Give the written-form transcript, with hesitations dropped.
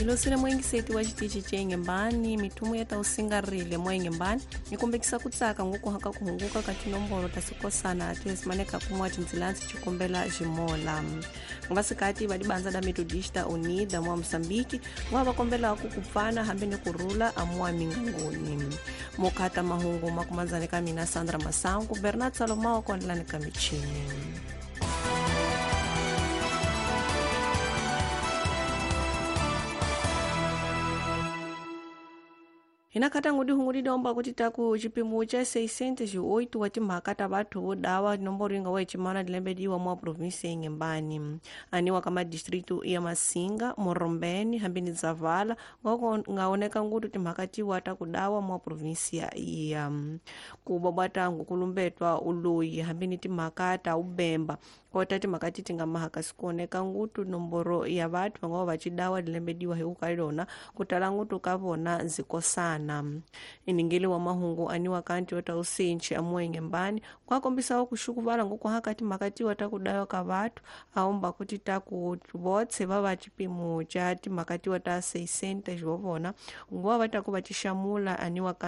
Hilosile muengiseti wa xitichi ce Inhembane mithumu ya ta usingarile mwa Inhembane yi kombekisa ku tsaka ngokuhaka ku hunguka ka tinomboro ta sikosana tiesimaneka kumwa tindzilansi cikombela ximola. Vasikati va dibandza da Metodista Unida mwa Moçambique va va kombelaku ku pfana hambi ni ku rhula amwa mingangoni. Mokhata mahungu makumandzani ka mina Sandra Masangu, Bernard Salomao kondlani ka michini. Hina khatangu dihungu didomba kuti taku chipimo cha 608 wa timhaka ta vathu vo dawa nomboro yi nga wa chimana dilembediwa mwa provinsi ya Inhembane aniwa ka madistritu ya Masinga, Morombeni hambi ni Zavala nga oneka ngutu timhaka tiwa ta ku dawa mwa provinsi ya iya ku bwabwata ngukulumbetwa uloyi hambi ni timhaka ta ubemba kota timhaka ti nga mahaka sikuoneka ngutu nomboro ya vathu va nga va va cidawa dilembediwa hi ku ka yona ku tala ngutu ka vona nzikosana. Iningeli wa mahungu aniwa kanti ota usinchi amuwa Inhembane kwakombisawo kuxukuvala ngokuhaka timhaka tiwa ta ku dawa ka vathu aomba kuti taku votse va va chipimo cha timhaka tiwa ta 600 vo vona nguva va ta ku va tixamula aniwa ka